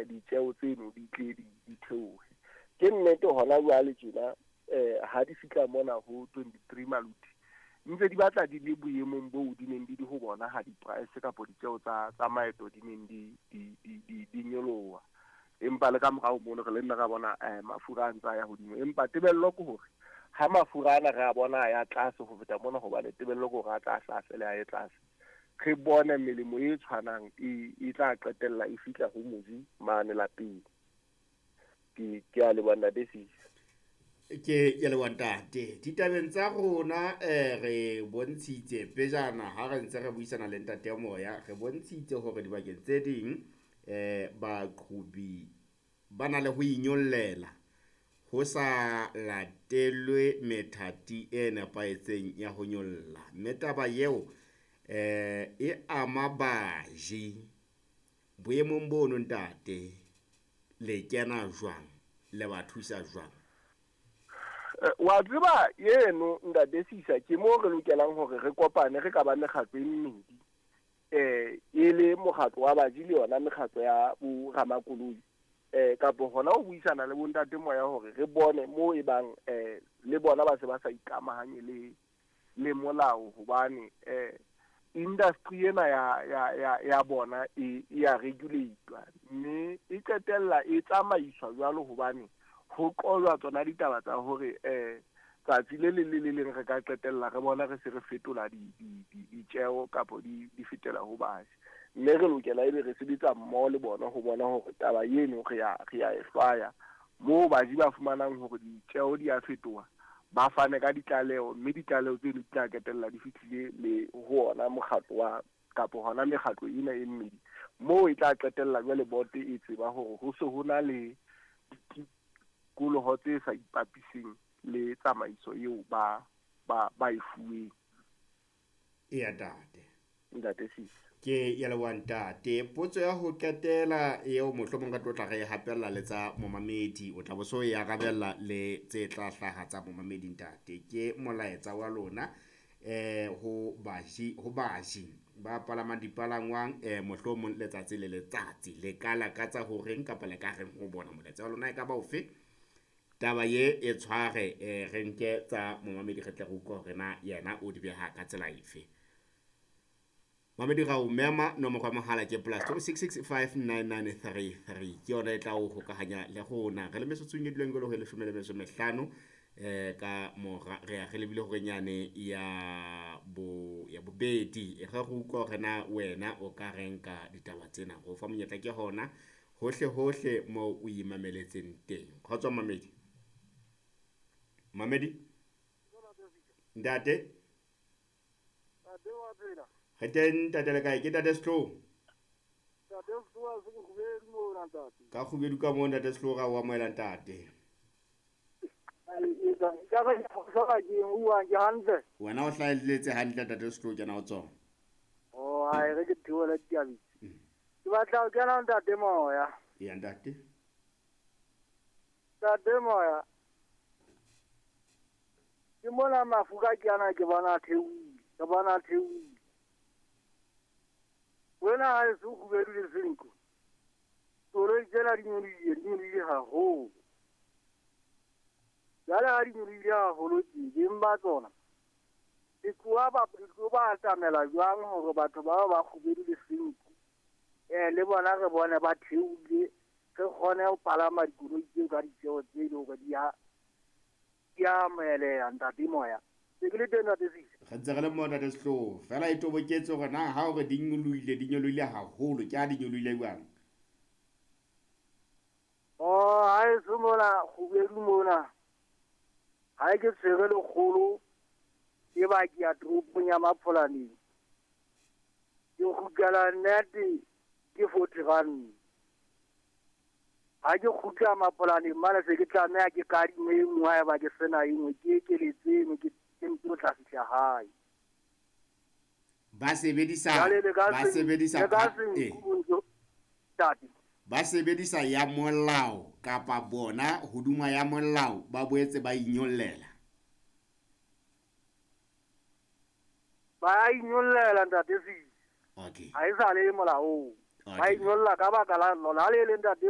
Ditjeo tseno di tle di theohe. Ke nnete hona jwale tjena ha di fihla mona ho 23 Maluti, ntse di batla di le boemong boo di neng di di ho bona ha di-price kapo ditjeo tsa maeto di neng di nyoloha. Empa le ka morao mono re le nna ra bona mafura a ntse a ya hodimo. Empa tebello ke hore ha mafura ana re a bona a ya tlase ho feta mona, hobane tebello ke hore a tla hla fele a ye tlase, re bone melemo e tshwanang e tla qetella e fihla ho moji mane lapeng. Ke a leboha, ntate Sisa. Ke leboha, ntate. Ditabeng tsa rona re bontshitse pejana ha re ntse re buisana le ntate Moya, re bontshitse hore dibakeng tse ding baqhobi ba na le ho inyollela ho sa latelwe methati e nepahetseng ya ho nyolla, mme taba eo e ama baji. Boemong bono, ntate, le kena jwang, le ba thusa jwang? Wa tseba eno, ntate Sisa, ke mo re lokelang hore re kopane re ka ba mekgatlo e mmedi, e le mokgatlo wa baji le yona mekgatlo ya bo ramakoloi, kapo hona ho buisana le bontate Moya hore re bone mo e bang le bona ba se ba sa ikamahanye le molao, hobane industry ena ya bona e ya regulate-wa, mme e qetella e tsamaiswa jwalo hobane ho qojwa tsona ditaba tsa hore tsatsi le leng le le leng re ka qetella re bona re se re fetola ditjeo kapo di fetela ho baji. Mme re lokela ebe re sebetsa mmoho le bona ho bona hore taba eno re ya e hlwaya. Moo baji ba fumanang hore ditjeo di a fetoha, ba fane ka ditlaleho, mme ditlaleho tseno di tla qetella di fihlile le ho ona mokgatlo wa kapo hona mekgatlo ena e mmedi, moo e tla qetella jwale bote e tseba hore ho se ho na le ditikoloho tse sa ipapiseng le tsamaiso eo ba e fuweng. Eya, ntate. Ntate Sisa. Ke ya leboha, ntate. Potso ya ho qetela eo mohlomong ka tlo tla re hapella le tsa momamedi, o tla bo so e arabella le tse tla hlaha tsa momamedi, ntate. Ke molaetsa wa lona ho baji ba palamang dipalangwang mohlomong letsatsi le letsatsi, le ka lakatsa ho reng kapa le ka reng ho bona? Molaetsa wa lona e ka ba ofe? Taba ye e tshware re nke tsa momamedi re tle re utlwe hore na yena o di beha ka tsela efe. Mamedi ra o mema, nomoro ya mohala ke +266 59933, ke yona e tla o hokahanya le rona. Re le metsotsong e dulang jwalo ho 15 ka mora re ya re lebile hore nyane ya bobedi. E re re utlwa hore na wena o ka reng ka ditaba tsena. Ho fa monyetla ke hona hohle hohle moo o imameletseng teng. Kgotso mamedi. Mamedi ntate. Re teng, ntate, le kae? Ke ntate Sehloho. Ntate Sehloho, se Kgubedu mona, ntate. Ka Kgubedu ka moo, ntate Sehloho, ra o amohela, ntate. Wena o hlahelletse hantle, ntate Sehloho, kena ho tsona. Oh, ai re ke theola ditabeng. Ke batla ho kena, ntate Moya. Eya, ntate. Ntate Moya, ke mona mafura ke ana ke bona theohile, ke bona theohile. Wena ha e so Kgubedu le Senqu, koloi tsena di nyolohile haholo. Jwale ha di nyolohile haholo tje, beng ba tsona le tloha ba atamela jwang hore batho bao ba Kgubedu le Senqu le bona re bone ba theohile, re kgone ho palama dikoloi tseo ka ditjeo tse leng hore di a amoheleha, ntate Moya. Se ke le teng, ntate Sisa. Re ntse re le moo, ntate Sehloho. Feela e toboketse hore na ha hore di nyolohile haholo, ke ha di nyolohile jwang? Oh, ha e se mona Kgubedu mona, ha ke tshwere lekgolo e ba ke ya toropong ya Mapholaneng, ke kgutlela nnete ke 40 rand. Ha ke kgutla Mapholaneng mane se ke tlameha ke kadime e nngwe, haeba ke sena e nngwe ke ekeletse eno, ke ntse tla fihla hae. Ba sebedisa ya molao kapa bona hoduma ya molao ba boetse ba inyollela. Ba inyollela, ntate Sisa. Okay. Ha e sa le molaong. Ba inyolla ka baka la lona le leng, ntate.